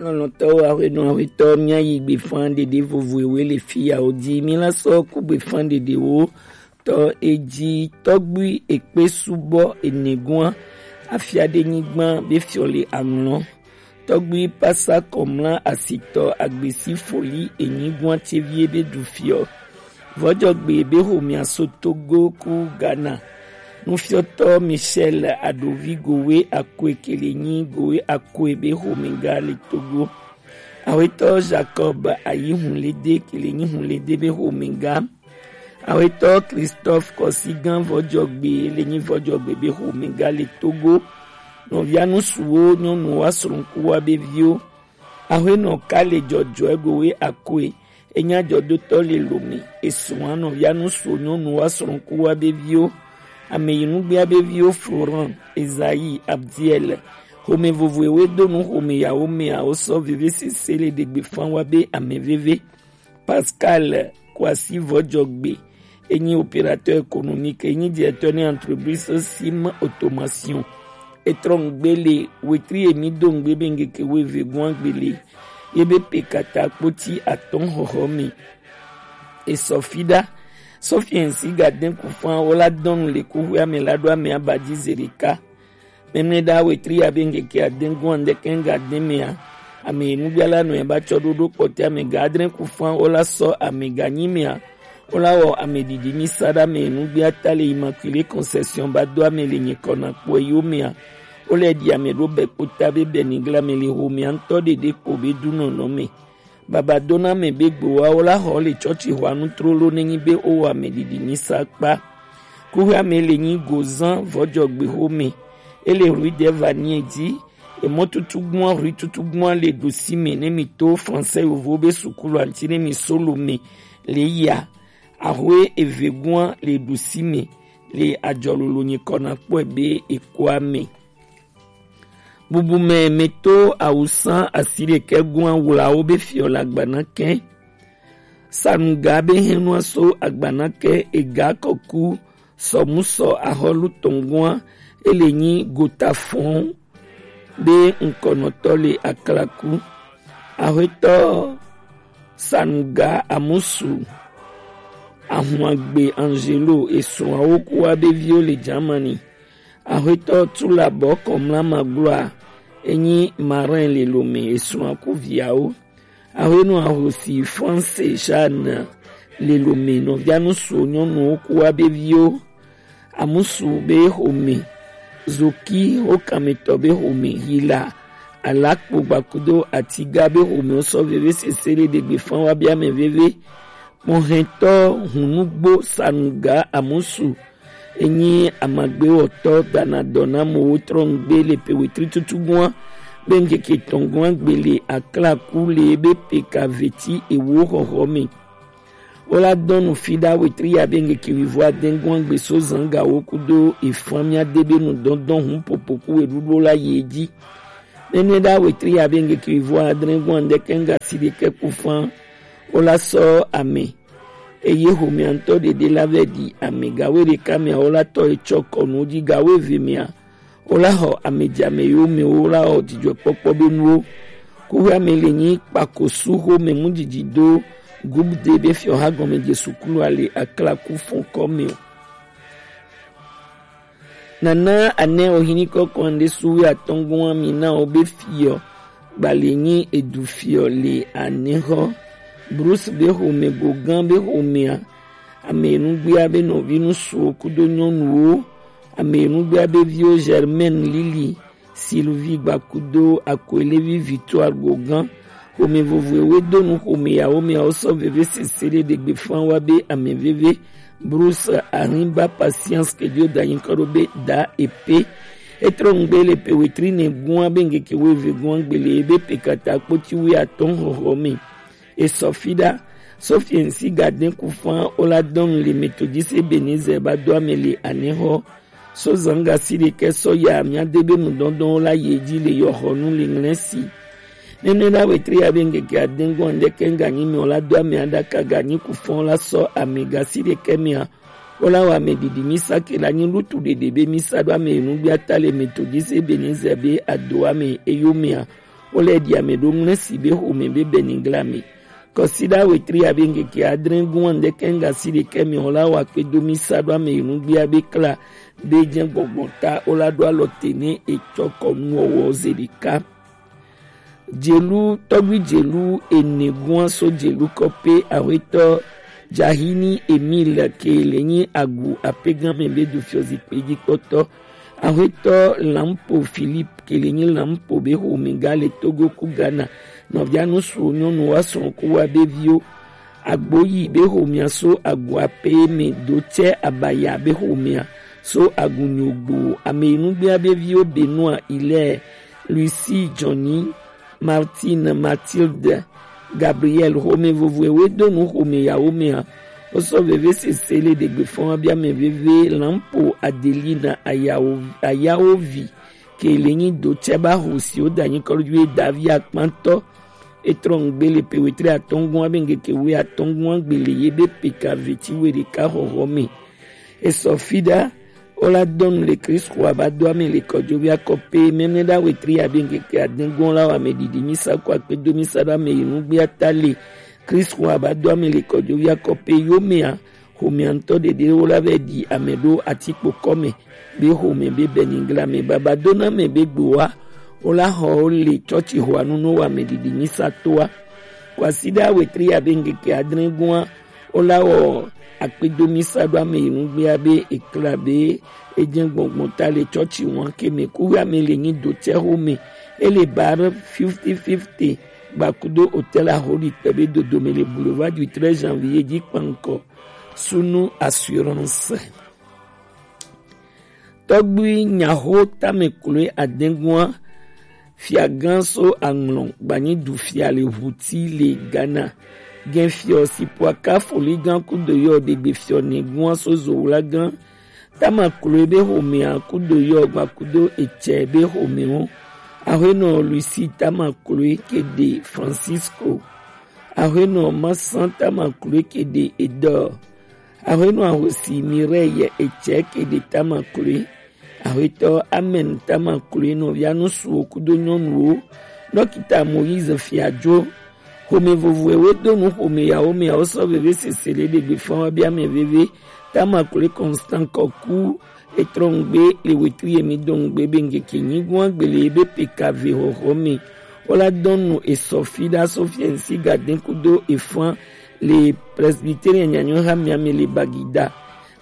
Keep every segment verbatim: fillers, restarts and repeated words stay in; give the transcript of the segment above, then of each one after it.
Lɔlɔ̃tɔwo, aƒenɔ, aƒetɔ, míayi gbefan ɖeɖe vovo ewe le fiyawo dzi. Míla sɔ ku gbefan ɖeɖewo tɔ edzi. Tɔgbui ekpe subɔ enegua afiaɖenyigba be fiɔ le aŋlɔ. Tɔgbui pasa kɔmla asitɔ agbesi foli enyigua tevie be du fiɔ. Vɔjɔgbe be xomea so Togo ku Ghana. Nufiɔtɔ Michel Adovi Gowe Akoe ke le nyi Gowe Akoe be xomega le Togo. Awetɔ Jacob Ayi Hunlede ke le nyi Hunlede be xomega. Awetɔ Christophe Kɔsigan Vɔjɔgbe le nyi Vɔjɔgbe be xomega le Togo. Nɔvia nusuwo, nyɔnuwo, asrɔ̃kuwa be viwo. Aƒenɔ Kale Jɔjɔɛ Gowe Akoe, enya jɔdotɔ le Lome, esrɔ̃a nɔvia nusuwo, nyɔnuwo, asrɔ̃kuwa be viwo, ameyinugbea be viwo Florent, Esaïe, Abdiel. Xome vovoewe do nu xome yawo mea wosɔ vevesese le ɖegbe fan wa be ame veve. Pascal Kwasi Vɔjɔgbe, enyi opérateur économique, enyi directeur ne entreprise Sim Automation. Etrɔ ŋgbe le wetri emi do ŋgbe be ŋgeke weve gɔn agbe le ye be pe kata kpoti atɔn xɔxɔ me. Esɔ fi ɖa. Sɔfiɛn si ga den ku fan wo la dɔn le kuxwe ame la ɖo ame aba dzi ze ɖeka. Mɛmlɛ ɖa wetri abe ŋkeke adɛn gɔn andɛkɛn ga dɛn mɛa, ame enugbia la nɔ eba tsɔ ɖoɖo kpɔtɛ ame ga adrɛn ku fan wo la sɔ ame ga nyi mɛa, wo la wɔ ame ɖiɖi mi sa ɖa ame enugbia ta le Immaculée Conception ba do ame le nyikɔ na kpɔ yo mɛa, wo lɛ ɖi ame ɖo bɛ kpota be bɛ nigla me le ho mɛa ŋtɔ ɖeɖe kpo be du nɔnɔ me. Baba dona me be gbowawo la xɔ le tsɔtsi xɔanu trolo nenyi be wo wɔ ame ɖiɖi mi sa kpa. Kuxia me le nyi gozan vɔjɔgbe xome. Ele rue de vanie dzi. Emɔ tutugbua rue tutugbua le ɖusi me ne mi to français yovo be sukulu anti ne mi solo me le ya. Axwe eve gua le ɖusi me le ajɔlolo nyikɔ na kpɔe be ekua me. Bubu mɛ mɛto awusa asi ɖekɛ gɔn awlawo be fiɔ le agba na kɛ. Sanuga be hɛnua so agba na kɛ ega kɔku sɔmusɔ axɔlu tɔngɔa ele nyi gota fɔn be ŋkɔnɔtɔ le aklaku. Axwetɔ Sanuga Amusu Ahuagbe Angelo esrɔ̃awo kuwa be viwo le Germany. Axwetɔ Tula Bɔkɔ Mla Magloa enyi marin le Lome esrɔ̃a ku viawo. Axwenu Ahosi France Jeanne le Lome nɔvia nusu nyɔnuwo kuwa be viwo. Amusu be xome, Zoki wo kametɔ be xome, Hila Alakpo gbakudo Atiga be xome wo sɔ veve sese le ɖegbe fan wa be ame veve. Mɔhɛntɔ Hunugbo Sanuga Amusu enyi amagbewɔtɔ dana dɔ na mowo trɔ ŋgbe le pe wetri tutu gɔa be ŋkeke tɔn gɔa gbe le aklaku le be pe ka veti ewo xɔxɔ me. Wo la dɔn nu fi ɖa wetri ya be ŋkeke wivo adɛn gɔa gbe so zan gawo kudo efan mia de be nu dɔndɔn hun popo ku weɖuɖu la yi edzi. Nene ɖa wetri ya be ŋkeke wivo adɛn gɔa ŋdɛkɛ ŋga si ɖekɛ ku fan. Wo la sɔ ame eye xomea ŋutɔ ɖeɖe la vɛ ɖi ame gawo ɖeka mea wo la tɔ etsɔ kɔnu dzi gawo eve mea wo la xɔ ame dzi ame yiwo me wo la xɔ dzidzɔkpɔkpɔ be nuwo. Kuxea me le nyi kpakosu xome mu dzidzi do gubde be fiɔ ha gɔme Jesu klu ale aklaku fɔn kɔ me o. Nana anɛ ohini kɔkɔ ande su wi atɔngɔn mi na o be fiɔ gbali nyi edu fiɔ le anɛ xɔ. Bruce be xome gogan be xomea ame enugbea be nɔvi nusuwo kudo nyɔnuwo, ame enugbea be viwo Germaine Lili, Sylvie gbakudo Akoelevi Victoire gogan. Xome vovoewe do nu xome yawo mea wo sɔ veve sese ɖe ɖegbe fan wa be ame veve. Bruce Arimba Patience ke dio da nyi kɔ ɖo be da epe. Etrɔ ŋgbe le pe wetri ne gua be ŋkeke wo eve gua gbele be pe kata kpoti wi atɔn xɔxɔ me. Esɔ fi ɖa. Sɔfiɛn si ga dɛn ku fan wo la dɔn le Methodiste Ebenezer ba do ame le anɛ xɔ. So zanga si ɖekɛ sɔ ya mia de be nu dɔndɔn wo la ye dzi le yɔ xɔ nu le ŋlɛ si. Nene la wetri ya be ŋkeke adɛn gɔn ɖekɛ ŋga nyi mɛ wo la do ame aɖaka ga nyi ku fan wo la sɔ ame ga si ɖekɛ mea. Wo la wɔ ame ɖiɖi mi sa ke la nyi lutu ɖeɖe be mi sa ɖo ame enugbea ta le Methodiste Ebenezer be ado ame eyo mea. Wo lɛ ɖi ame ɖo ŋlɛsi be xomɛ be bɛnigla mɛ. Kɔsiɖa wetri abe ŋkeke adre gun ande kɛŋga si ɖekɛ mɛ o la wa kpe do mi sa ɖo ame yi nugbia be kla be jɛ gbɔgbɔ ta o la ɖo alɔ te ne etsɔ kɔ nuwɔwɔ ze ɖeka. Jelu tɔgbi jelu ene gun aso jelu kɔpe ahwetɔ Jahini Emile ke le nyi agu apegan mɛ be du fiɔ zikpe ji kpɔtɔ. Ahwetɔ Lampo Philippe ke le nyi Lampo be xomɛ ga le Togo ku Ghana. Nɔvia nusu nyɔnu wa srɔ̃ ku wa be viwo. Agboyi be xomɛa so agu ape mɛ do tsɛ abaya be xomɛa so agu nyogbo ame yi nugbea be viwo Benoit Hilaire, Lucie Johnny, Martine, Mathilde, Gabriel, xomɛ vovoe we do nu xomɛ yawo mɛa. Wo sɔ veve sese le ɖegbe fɔn wa bi ame veve Lampo Adelina ayawo ayawo vi ke le nyi do tsɛ ba ho si wo da nyi kɔlu ju ye davi akpantɔ. Etrɔ ŋgbe le pe wetri atɔngun abe ŋgeke we atɔngun agbe le ye be pe ka veti we ɖeka xɔxɔ mɛ. Esɔ fi ɖa o la dɔnu le Kristo aba do ame le kɔjovi akɔ pe mɛmɛ ɖa wetri abe ŋgeke adengun la wa ame ɖiɖi mi sa ko akpe do mi sa ɖa ame yi nugbe ata le Kristo aba do ame le kɔjovi akɔ pe yo mɛa xomɛ ŋutɔ ɖeɖe wo la vɛ ɖi ame ɖo atikpo kɔmɛ be xomɛ be bɛnigla mɛ baba do na mɛ be gbowa wo la xɔ wo le tsɔtsi xɔa nu no wa ame ɖiɖi mi sa toa. Kwasiɖa wetri abe ŋgeke adre gua wo la wɔ akpedo mi sa ɖo ame yi nugbea be ekla be edze gbɔngbɔn ta le tsɔtsi wan ke mɛ kuwe ame le nyi do tsɛ xomɛ ele bar fifty fifty gbakudo hotel aholi kpɛ be dodome le boulevard du treize janvier ji kpankɔ sunu assurance. Tɔgbui nyaxo tame kloe adɛngua fiagã so aŋlɔ gbanyi du fia le ʋuti le Ghana. Gɛnfiɔ si poaka foligã kudo yɔ ɖegbe fiɔ nɛgua so zowlagã tama kloe be xomea kudo yɔ gbakudo etsɛ be xomɛwo. Axwenɔ Lucy tama kloe ke ɖe Francisco. Axwenɔ Masan tama kloe ke ɖe Edɔ. Axwenɔ ahosi Mireille etsɛ ke ɖe tama kloe. Axwetɔ Amen tama kloe nɔvia nusuwo kudo nyɔnuwo. Dɔkita Moïse Fiadzo. Xome vovoewo do nu xome yawo mɛ awo sɔ veve sese le ɖegbe fɔn wa bia mɛ veve. Tama kloe Constant Kɔku etrɔ ŋgbe le wetu ye mi do ŋgbe be ŋgeke nyigua gbele be peka ve xɔxɔ mɛ. Wola dɔnu esɔ fi ɖa so fiɛnsi gaden kudo efan le Presbyterian nyanyɔ ha miame le Bagida.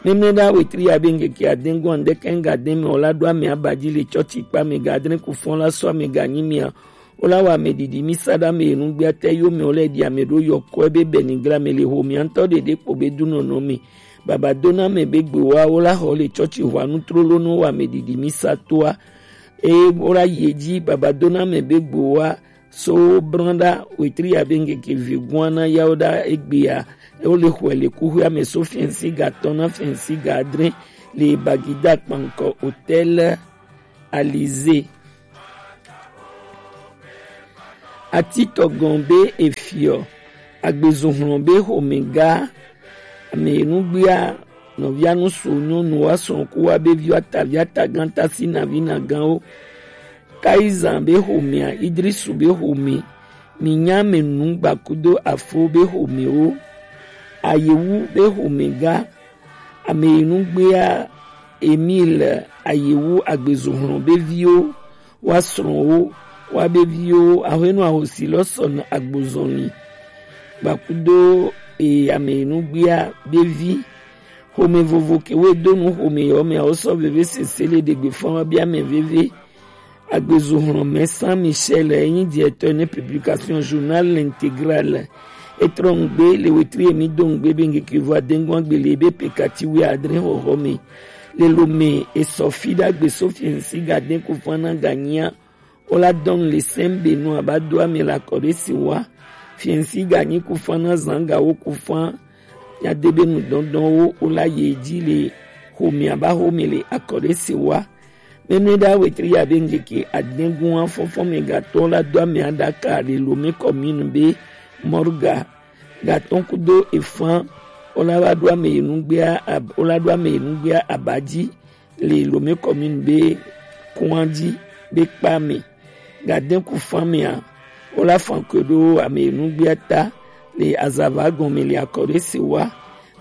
Mɛmɛ ɖa wetri ya be ŋgeke aden gɔn ɖe kɛn gaden mɛ wola ɖo ame abaji le tsɔtsi kpa mɛ gadre kufɔn la sɔ ame ganyi mia. Wola wa ame ɖiɖi mi sa ɖa ame enu gbia te yo mɛ wole ɖi ame ɖo yɔ kɔe be bɛni gra mɛ le ho mia ŋutɔ ɖeɖe kpo be du nɔnɔ mɛ. Baba do na ame be gbe wa wola xɔ le tsɔtsi hwa nu trolo no wa ame ɖiɖi mi sa toa. Eye wola yi edzi baba do na ame be gbe wa so brɔn ɖa wetri ya be ŋkeke vi gua na yawo ɖa egbea. Wo le xɔe le kuxuia me so fiɛnsi ga tɔn na fiɛnsi ga adre le Bagida kpankɔ hotel Alizé. Atitɔgɔn be efiɔ agbezuhlɔn be xomɛga ame nugbia nɔvia nusu nyɔnu wa srɔ̃ ku wa be viwa tavi atagã tasi navi nagãwo. Kaizan be xomɛa Idrisu be xomɛ mi nya ame nugba kudo afo be xomɛwo. Ayewu be xomɛga ame yi nugbea Emile Ayewu agbezuhlɔn be viwo wa srɔ̃wo wa be viwo ahwenu ahosi lɔ sɔn agbozɔnli gbakudo e ame yi nugbea be vi. Xome vovo ke we do nu xome yɔ mɛ awo sɔ veve sese le ɖegbe fɔn wa bia mɛ veve. Agbezuhlɔnmɛ Saint Michel enyi directeur ne publication journal l'intégral. Etrɔ ŋgbe le wetri emi do ŋgbe be ŋgeke vɔ adengun agbele be pekati we adre xɔxɔ me. Le lome esɔ fi ɖagbe so fiɛnsi gaden kufana ganyia. Wola dɔn le sɛn be nu aba do ame le akɔ ɖe si wa. Fiɛnsi ganyi kufana zanga wo kufan. Nyadebe nu dɔndɔn wo wola ye dzi le xome aba xome le akɔ ɖe si wa. Mɛnɛ ɖa wetri ya be ŋkeke adɛngun afɔfɔ mɛ gatɔ la do ame aɖaka le Lomé commune be Morga gatɔ kudo efan wola va ɖo ame yi nugbea ab- wola ɖo ame yi nugbea abadzi le Lomé commune be kɔn dzi be kpa mɛ. Ga dɛn ku fan mɛ a, wo la fan kwe ɖo amɛ nugbe ata le azava gɔn mɛ le akɔ ɖe se wa.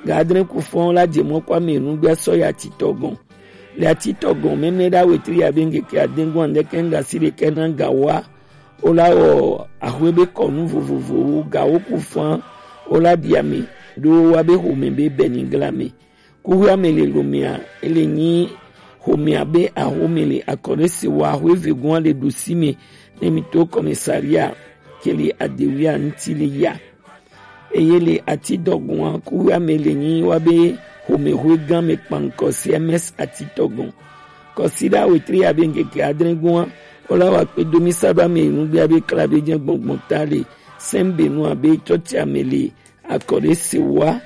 Ga adrɛn ku fan wo la jɛ mɔ kɔ amɛ nugbe a sɔ yi atitɔ gɔn. Le atitɔ gɔn mɛmlɛ ɖa wetri ya be ŋkeke adɛn gɔn andɛ kɛn ga si ɖe kɛ na ga wa. Wo la wɔ ahwe be kɔnu vovovowo ga wo ku fan wo la ɖi amɛ ɖo wa be xomɛ be bɛnigla mɛ. Kuxi amɛ le lomɛa, ele nyi xomɛa be axomɛ le akɔ ɖe se wa xwe vegun ale ɖo si mɛ ne mi to kɔmɛsaria ke le adewia ŋuti le ya. Eye le ati dɔgun a, kuxi amɛ le nyi wa be xomɛ xwe gan mɛ kpankɔ C M S ati tɔgun. Kɔsiɖa wetri ya be ŋkeke adrɛn gun a, wo la wa kpe do mi sa ɖo amɛ nugbea be kla be jɛ gbɔngbɔn ta le sɛn be nu abe tsɔtsi amɛ le akɔ ɖe se wa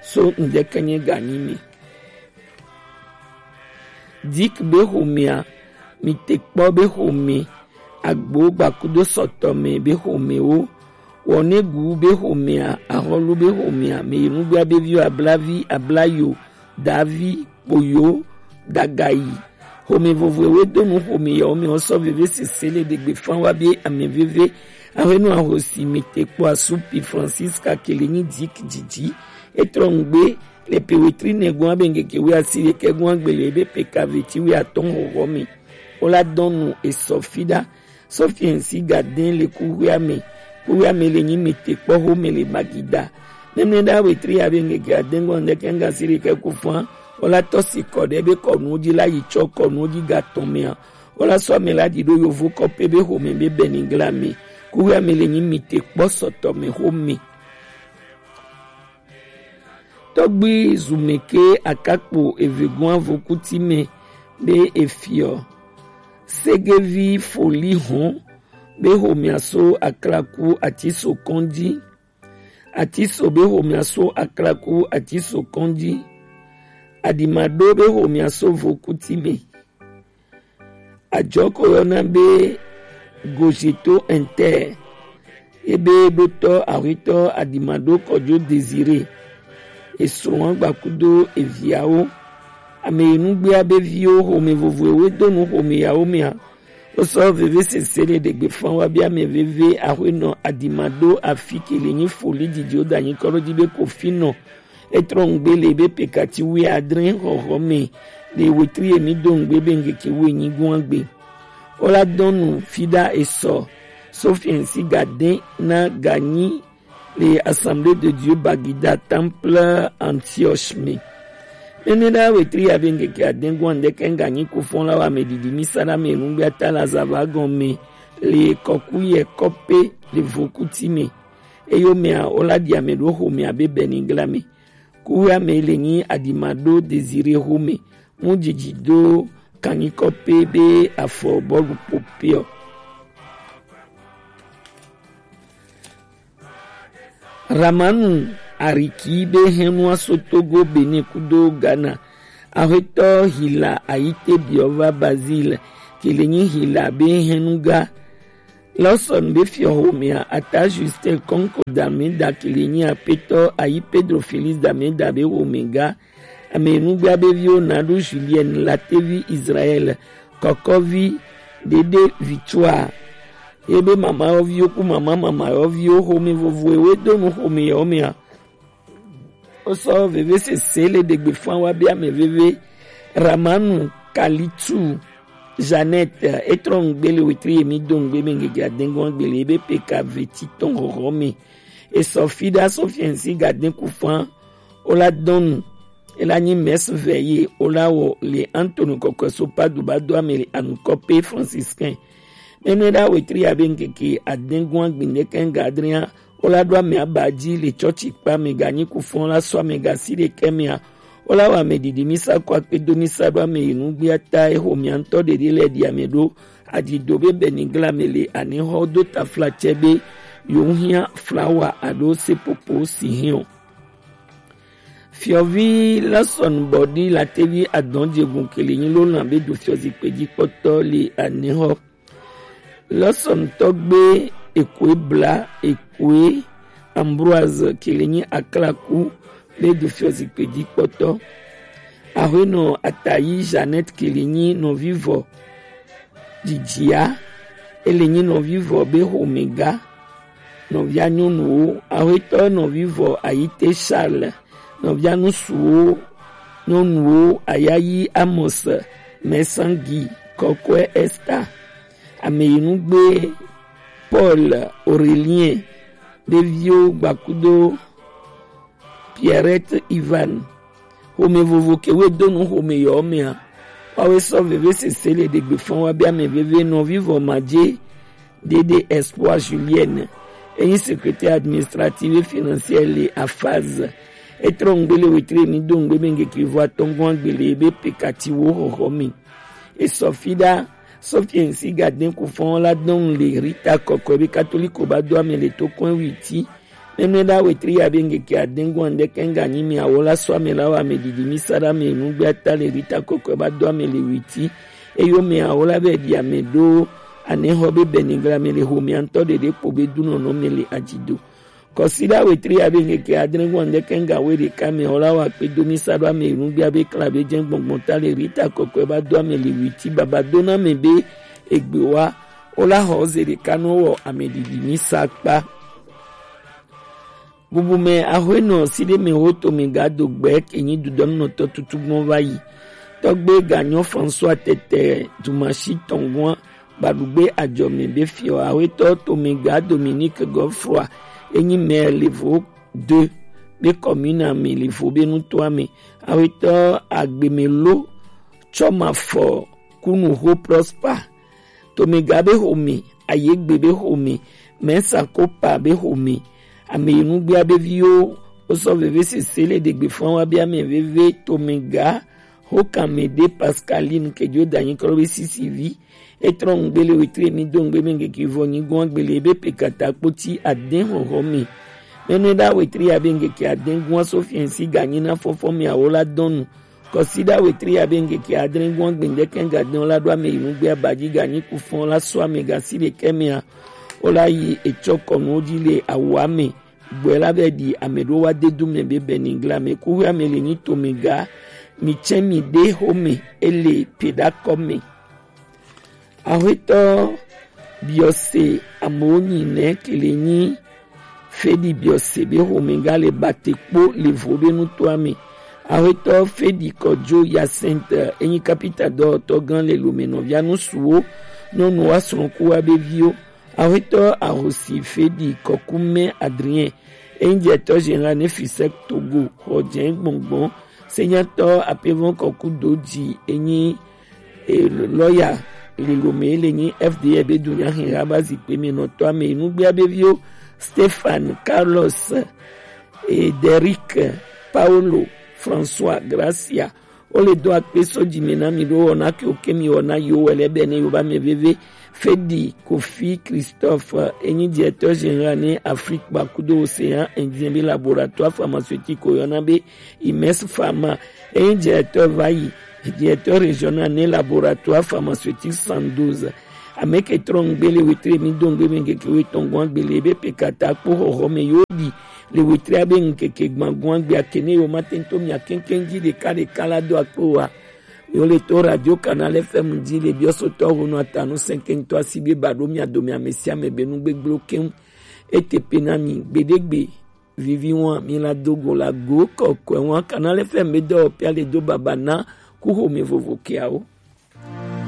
so ŋdɛkɛnyɛ ganyi mi. Dik be xomɛa, mi te kpɔ be xomɛ, agbo gbakudo sɔtɔmɛ be xomɛwo, wɔnegu be xomɛa, axɔlu be xomɛa, mɛ yi nugbea be viwo ablavi, ablayo, davi, kpoyo, dagayi. Xomɛ vovoe we do nu xomɛ yawo mɛ wo sɔ veve sese le ɖegbe fan wa be amɛ veve. Axenu ahosi mi te kpɔ asupi Francisca kele nyi dik didi. Etrɔ ŋgbe le pe wetri nɛ gɔn abe ŋkeke we asi ɖekɛ gɔn agbele ebe pe kave ti we atɔn xɔxɔ mi. Wo la dɔn nu esɔ fi ɖa. Sɔfiɛnsi ga dɛn le kuxuia mɛ. Kuxuia mɛ le nyi mi te kpɔ xomɛ le Magida. Nɛnɛ ɖa wetri abe ŋkeke adɛn gɔn ɖekɛ ŋga si ɖekɛ ku fan. Wo la tɔ si kɔ ɖe be kɔnu ji la yi tsɔ kɔnu ji ga tɔn mɛ a. Wo la sɔ amɛ la ɖi ɖo yovo kɔpe be xomɛ be bɛnigla mɛ. Kuxuia mɛ le nyi mi te kpɔ sɔtɔ mɛ xomɛ. Tɔgbi zumɛke akakpo evegun avokuti mɛ be efiɔ. Segevi foli hɔn be xomɛa so aklaku atiso kɔnji. Atiso be xomɛa so aklaku atiso kɔnji. Adimado be xomɛa so vokuti mɛ. Ajɔko yɔna be Gojeto Inter. Ebe ɖotɔ ahwetɔ Adimado Kɔjo Désiré. Esrɔ̃ agbakudo eviawo. Ame yi nugbea be viwo xomɛ vovoewo do nu xomɛ yawo mɛa. Wosɔ veve sese le ɖegbe fan wa be ame veve axwenɔ Adimado afi ke le nyi foli didi wo da nyi kɔɖo di be ko finɔ. Etrɔ ŋgbe le be pekati wi adre xɔxɔ me le wetri emi do ŋgbe be ŋkeke wi nyi gua gbe. Wo la dɔn nu fi ɖa esɔ Sofiɛnsi ga de na ganyi le Assemblée de Dieu Bagida Temple Antioche me. Nene ɖa wetri ya be ŋkeke adɛn gɔn ɖe ke ŋganyi kufɔn la wa me didi mi sa ɖa me nugbe ata la zava gɔn me le kɔku yɛ kɔpe le vokuti me. Eyo mea wo la ɖi ame ɖo xomea be Benigla me. Kuxoe ame le nyi Adimado Désiré xome. Mu dzidzi do kanyi kɔpe be afɔ bɔlu popeɔ. Ramanu Ariki be hɛnu aso Togo, Benin kudo Ghana. Axwetɔ Hila Ayite biɔ va Basile ke le nyi Hila be hɛnu ga. Lawson be fiɔ xomea ata Justin Konko Dameda ke le nyi apetɔ ayi Pedro Felix Dameda be xome ga. Ame nugbea be viwo na ɖo Julienne Latevi Israel kɔkɔvi ɖeɖe Victoire. Ye be mama yɔviwo ku mama mama yɔviwo xome vovoe we do nu xome yɔ mea. Wosɔ veve sese le ɖegbe fan wa be ame veve Ramanu Kalitu Jeannette etrɔ ŋgbe le wetri emi do ŋgbe me ŋgege adengo agbele ebe peka veti tɔn xɔxɔ me. Esɔ fi ɖa Sofiɛnsi gaden ku fan wo la dɔn nu. Ela nyi mɛs vɛ ye wo la wɔ le Antonio kɔkɔe so Padu ba do ame le anukɔ pe franciscain. Mɛnɛ ɖa wetri abe ŋkeke adengun agbinde kɛn gadria wo la ɖo ame aba dzi le tsɔtsi kpa me ganyi kufɔn la sɔ ame gasi ɖe kɛ mea wo la wɔ ame ɖiɖi misa kɔ akpe do misa ɖo ame yi nugbia ta exo mia ŋutɔ ɖeɖi lɛ ɖi ame ɖo adido be Benigla me le anexɔ do tafla tsɛ be yewo hiã flawa alo sepopo si hiã o. Fiɔvi Lawson Bɔdi Latevi adɔn jegun kele nyi lo lan be do fiɔ zikpe ji kpɔtɔ le anexɔ. Lawson tɔgbe Ekoe Bla Ekoe Ambroise kele nyi aklaku be do fiɔ zikpe ji kpɔtɔ. Axwenɔ Atayi Jeannette kele nyi nɔvivɔ. Dzidzia Ele nyi nɔvivɔ be xomega, nɔvia nyɔnuwo, axwetɔ nɔvivɔ Ayite Charles, nɔvia nusuwo nyɔnuwo Ayayi Amos, Mɛsangi, Kɔkɔɛ Esther, Ameyinugbe Paul, Aurélien, ɖeviwo gbakudo Pierrette Ivan. Xome vovo ke we do nu xome yɔ mea. Wawe sɔ veve sese le ɖegbe fɔn wa bia mɛ veve nɔvivɔ madze Dede Espoir Julienne. Enyi secrétaire administratif et financier le Afaz. Etrɔ ŋgbe le wetre mi do ŋgbe be ŋgeke vɔ atɔngɔn agbele be pekati wo xɔxɔ mi. Esɔfida Sofiensi Gaden Kufɔn la dɔn le Rita Kɔkɔe be katoliko ba do ame le to kɔn witi. Nene la wetri ya be ŋgeke adengu ande kenga nyi mi awo la so ame la wa ame didi mi sa da me nugbe ata le Rita Kɔkɔe ba do ame le witi. Eyo me awo la be di ame do ane xɔ be benigla me le xome antɔ ɖeɖe kpo be dunɔnɔ me le adzido. Kɔsiɖa wetri ya be ŋkeke adre ŋgɔ ŋdeke ŋga we ɖeka me xɔ la wa kpe do mi sa ɖo ame nugbe abe kla be jɛ gbɔngbɔn ta le Rita Kɔkɔe ba do ame le witi baba do na me be egbe wa wo la xɔ ze ɖeka nɔ wɔ ame ɖiɖi mi sa kpa. Bubu me axwe nɔ si ɖe me wo to me ga do gbɛ ke nyi dudɔnɔtɔ tutu gbɔn va yi. Tɔgbe ga nyɔ François Tɛtɛ Dumashi tɔngɔn Gbaɖugbe ajɔme be fiɔ awetɔ tomega Dominique Godefroy enyi mɛ levo de be kɔmina me levo be nutoa me. Awetɔ agbeme lo tsɔ ma fɔ kunu ho Prosper tomega be xome ayegbe be xome mɛsa kopa be xome ameyinugbea be viwo wosɔ veve sese le ɖegbe fɔn wa be ame veve tomega Hokan me ɖe Pascaline ke jo danyi klo be sisi vi. Etrɔ ŋgbe le wetri mi do ŋgbe me ŋgeke vɔ nyi gɔn gbele be pekata kpoti aden xɔxɔ me. Mɛnɛ ɖa wetri ya be ŋgeke aden gɔn so fiɛnsi ganyi na fɔfɔ me awo la dɔnu. Kɔsi ɖa wetri ya be ŋgeke adre gɔn gbendeke gaden la ɖo ame yi nugbe abaji ganyi kufɔn la so ame gasi ɖekɛ mea. Wo la yi etsɔ kɔnu ji le awo ame. Gbɔe la be ɖi ame ɖo wa de du me be bɛni gla me ku hwe ame le nyi to me ga mi tsɛ mi ɖe xo me ele pe ɖa kɔ me. Axwetɔ biɔse amewo nyi nɛ ke le nyi feɖi biɔse be xo me ga le bate kpo le vo be nutoa me. Axwetɔ feɖi kɔdzo Yasɛnte enyi kapita dɔwɔtɔ gan le lome nɔvia nusuwo nyɔnuwo asrɔ̃kuwa be viwo. Axwetɔ ahosi feɖi kɔkumɛ Adrien, enyi directeur général ne Fisec Togo, xɔ jɛ gbɔngbɔn, senyatɔ apevɔn kɔku doji, enyi e, lɔya lilome le nyi F D A be dunya hɛn haba zikpe me nɔtɔ ame nugbea be viwo Stéphane, Carlos, e, Derrick, Paulo, François, Gracia, wo le do akpe sɔ dzi me na mi ɖo wɔna ke wo ke mi wɔna yi wo wɛ lɛ bɛ ne yo ba mɛ veve. Feɖi Kofi Christophe enyi directeur général ne Afrique ba kudo Océan Indien be laboratoire pharmaceutique wo yɔna be Imes Pharma enyi directeur va yi directeur régional ne laboratoire pharmaceutique cent douze. Ame ke trɔ ŋgbe le wetre mi do ŋgbe me ŋkeke wetɔn gɔn gbele be pe kata kpo xɔxɔ me yo ɖi le wetria be ŋkeke gbãgɔ̃a gbea ke ne yewomate ŋu to mia keŋkeŋ dzi ɖekaɖeka la do akpe oa, yewole to Radio Canal F M dzi le biɔsotɔ honu atanu sɛnkɛŋtɔ asi be ba ɖo mia dome ame sia ame be nu gbegblẽwo keŋ. Ete pe na mi gbeɖegbe vivi wa mi la do go la go kɔkɔe wa Canal F M be dɔwɔƒea le do baba na ku xome vovo keawo.